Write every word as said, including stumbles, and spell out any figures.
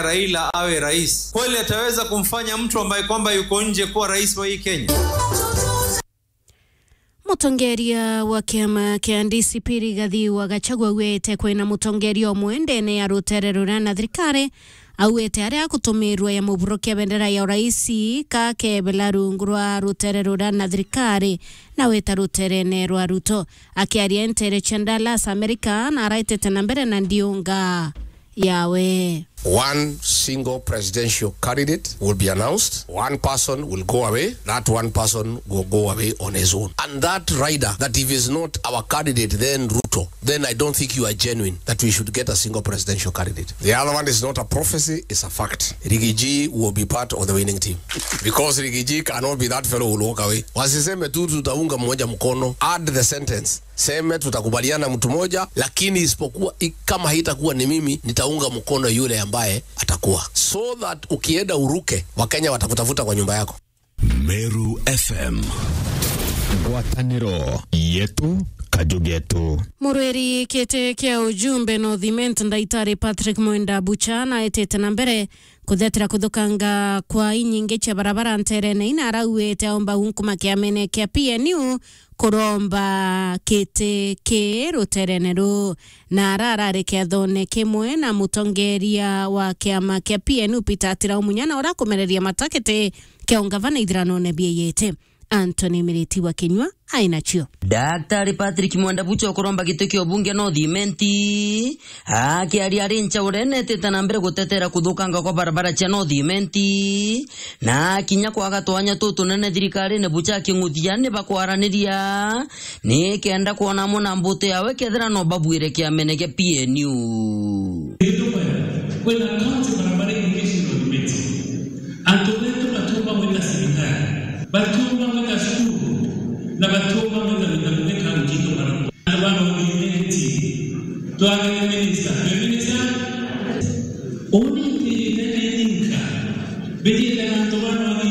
Raila awe rais? Kweli ataweza kumfanya mtu ambaye kwamba yuko nje kuwa rais wa hii Kenya? Mutongeria wa kiama kia D C P Rigathi wa Gachagua augite kwina mutongeria umwe ndene ya rutere ruria na thirikari, augite aria agutumirwa ya muburo kia bendera ya uraisi kakebela rungu rwa rutere ruria na thirikari na wita ruterene rwa Ruto. Akiaria ntere cia Dallas, America, na araitete na mbere na ndiunga yawe. One single presidential candidate will be announced. One person will go away. That one person will go away on his own. And that rider, that if is not our candidate, then Ruto, then I don't think you are genuine that we should get a single presidential candidate. The other one is not a prophecy, it's a fact. Rigiji will be part of the winning team. Because Rigiji cannot be that fellow who will walk away. Wasiseme tu tutaunga mmoja mkono. Add the sentence. Seme tutakubaliana mtu moja, lakini isipokuwa i-, kama haitakuwa ni mimi, nitaunga mkono yule ambaye atakuwa. So that ukienda uruke, Wakenya watakutafuta kwa nyumba yako. Meru F M. Ngwataniro yetu, kaju getu. Murwiri kiti kia ujumbe North Imenti, Ndaitari Patrick Mwenda Bucha, naetete na mbere kuthetera kuthukanga kwa inyingi cia barabara nterene ina arauite aomba unkuma kiamene kia P N U kuromba kiti ki ruterene ru. Na ara arari kiathone kimwe na mutongeria wa kiama kia P N U Peter Atirau Munya na urakumereria matakiti kia ungavana ithiranone bieyete. Anthony Miriti wa Kinyua ainacio. Daktari Patrick Mwenda Bucha ukuromba giti kia ubunge North Imenti, akiaria ari nchaurene etete na mbere gutetera kuthukanga kwa barabara cia North Imenti, na kinya kwaga twanya tutunene thirikarine Bucha aking'uthia ni bakwaraniria, ni kenda kwona amwe na mbutu yawe kethira no babuire kiamene gia P N U. Kwina kaunti barabara ingĩ cia North Imenti. Antu betu batiumba gwika cibitari, batiumba gwika cukuru, na batiumba gwika mitabu ni kaunti itu barabara. Antu ba North Imenti, twagire minista, twi minista? Uni ntirite ni ninka, mbijite na antu ba North